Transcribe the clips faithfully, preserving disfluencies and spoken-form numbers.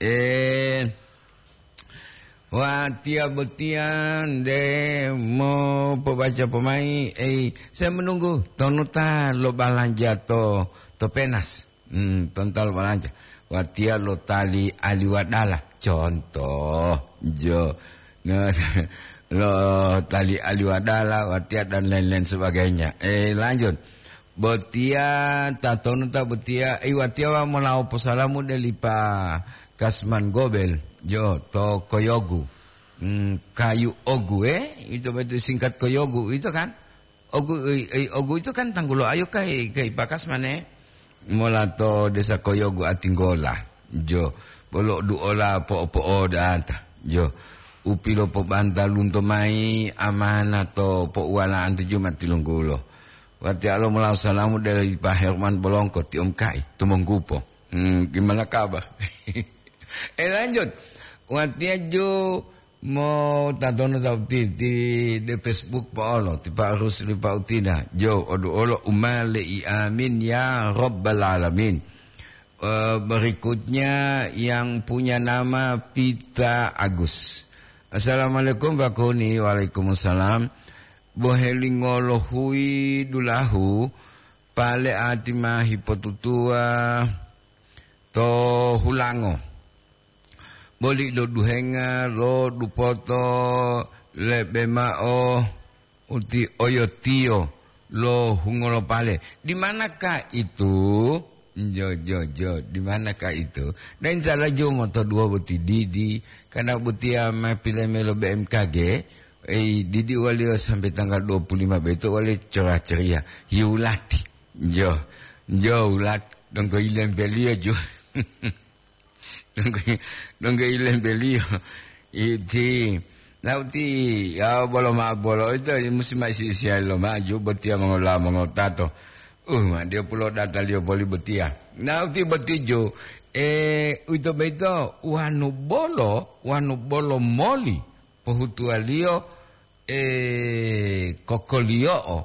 Eh, watiya botiya nde mopobaca pomai, ei, saya menunggu tonu ta lo balanja to, to Penas. Hmm, tonu ta lo balanja. Watiya lo tali aliwadala, contoh, jo. Nah, lo tali aliwadala, watiya dan lain-lain sebagainya. Eh, lanjut. Botiya, tatonu ta botiya, eh, watiya wa molawo posalamu deli Pa Kasman Gobel, jo, to Koyogu. Hmm, kayu ogu, eh? Itu betul singkat Koyogu, itu kan? Ogu, eh, eh, ogu itu kan tanggulo ayo kai, kai Pa Kasman, eh? Mola to desa Koyogu Atinggola, jo. Bolo duola po-, po'odata, jo. Upilo pobantalunto mai amana to pouwalaan to Jumat tilunggulo. Watiya lo molawo salamu dari Pa Herman Bolongko, ti om kai, tumonggupo. Hmm, gimana kabar? Eh, lanjut. Watiya jo mo tatono tauti ti de Facebook pa olo, ti Pa Rusli pa utina. Jo, odu olo umale i amin ya Rabbal Alamin. Eh, berikutnya yang punya nama Pita Agus. Assalamualaikum, Pak Kuni. Waalaikumsalam. Bohelingolo hui dulahu, pale ati ma hipotutuwa to hulango. Boli lo duhenga lo dupoto lebe mao uti oyotiyo lo hungolopale. Di manakah itu? Jo, jo, jo, di manakah itu? Dan insya Allah jo moto dua boti didi, karena botiya ma pilemelo B M K G, eh, didi waliyo sampai tanggal dua puluh lima beto waliyo cerah ceria. Yulati. Jo, jo, ulat, donggo ilembeliyo jo. Donggo, donggo ilembeliyo. Iti, nauti, ya, bolo ma bolo, ito, musi ma isi-isiya lo maju, botiya mongola mongotato. Uh, ma dia pulo data liyo boli botiya. Nauti botijo, eh, uito beito, wanu bolo, wanu bolo moli, pohutuwaliyo, eh, kokoliyo'o,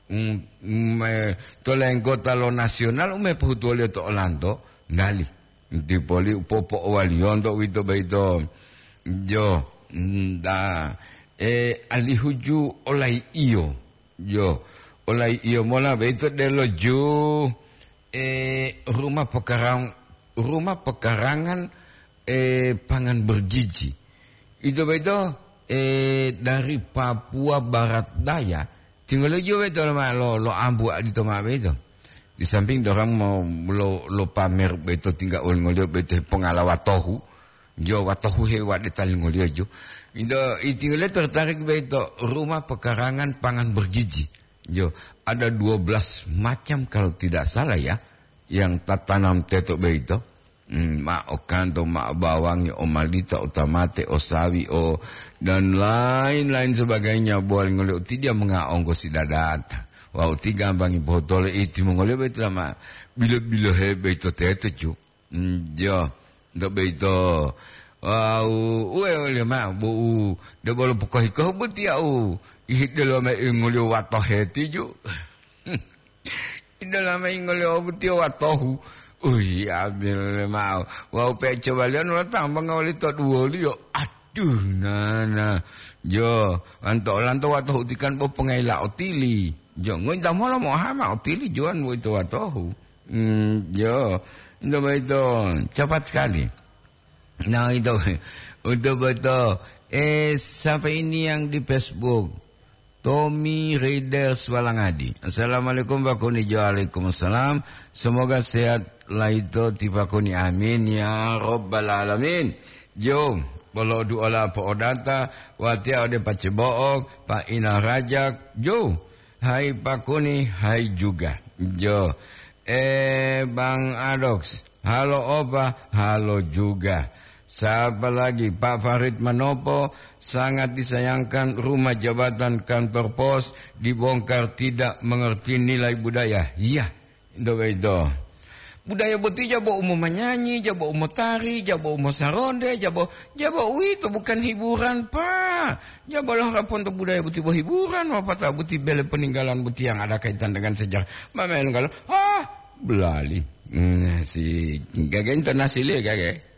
mm, mm, eh, to lenggota lo nasional, ume pohutuwaliyo to olanto, ngali. Dipoli upopo'owaliyonto uwito boyito. Jo, nda, e, alihu ju olai iyo. Jo, olai iyo mola boyito delo ju, e, rumah pekarang-, rumah pekarangan, e, pangan bergizi. Ito boyito, e, dari Papua Barat Daya, tinggalo ju boyito lo ma-, lo, lo ambu adito ma boyito. Di samping dorang mau lo, lo pamer boyito tingga olingoliyo boyito hepongala watohu. Jo, watohu he wade talingoliyo jo. Ito, itingoliyo tertarik boyito rumah pekarangan pangan bergizi. Jo, ada dua belas macam kalau tidak salah ya, yang tatanam teto boyito. Hmm, ma o kanto, ma o bawangi, o malita, o tamate, o sawi, o, dan lain-lain sebagainya. Bual ngoliyo uti dia mengaonggo si dadata. Wawu ti gambangi botolo iti mongoliyo boyito ma bilo-bilohe boyito teto, cu. Hmm, jo, nto boyito. Wawu, uwe, uwe, ma, bu, de bolo pokohi-kohi boti au. Ihidelo ma ingoliyo watohe tiju. Idolama ingoliyo butiyo watohu. Uyi, ambil mao. Wawu pecobaliyo nolo tambanga woli to duwoliyo. Aduh, nana. Jo, anto olanto watohu tikan bo pengayila otili. Jo, ngointa mola mohama otili juwan boyito watohu. Hmm, jo, ento boyito cepat sekali. Nah, itu, untuk betul. Eh, siapa ini yang di Facebook? Tommy Raider Swalangadi. Assalamualaikum, Pak Kuni. Jo, waalaikumsalam. Semoga sehat laito ti Pak Kuni. Amin ya Rabbal Alamin. Jo, bolo duola po'odata, watiya ode Pacebo'o, Pak Ina Rajak. Jo, hai Pak Kuni, hai juga. Jo, eh, Bang Adox, halo opa, halo juga. Siapa lagi? Pak Farid Manopo, sangat disayangkan rumah jabatan kantor pos dibongkar, tidak mengerti nilai budaya. Iya, itu, itu. Budaya boti jabo umo manyanyi, jabo umo tari, jabo umo saronde, jabo, jabo uwito bukan hiburan, Pak. Jabo lo harapan to budaya boti bo hiburan, wapata boti bele peninggalan boti yang ada kaitan dengan sejarah. Mama yang kalau, ah, belali. Hmm, si gaga internasional gaga.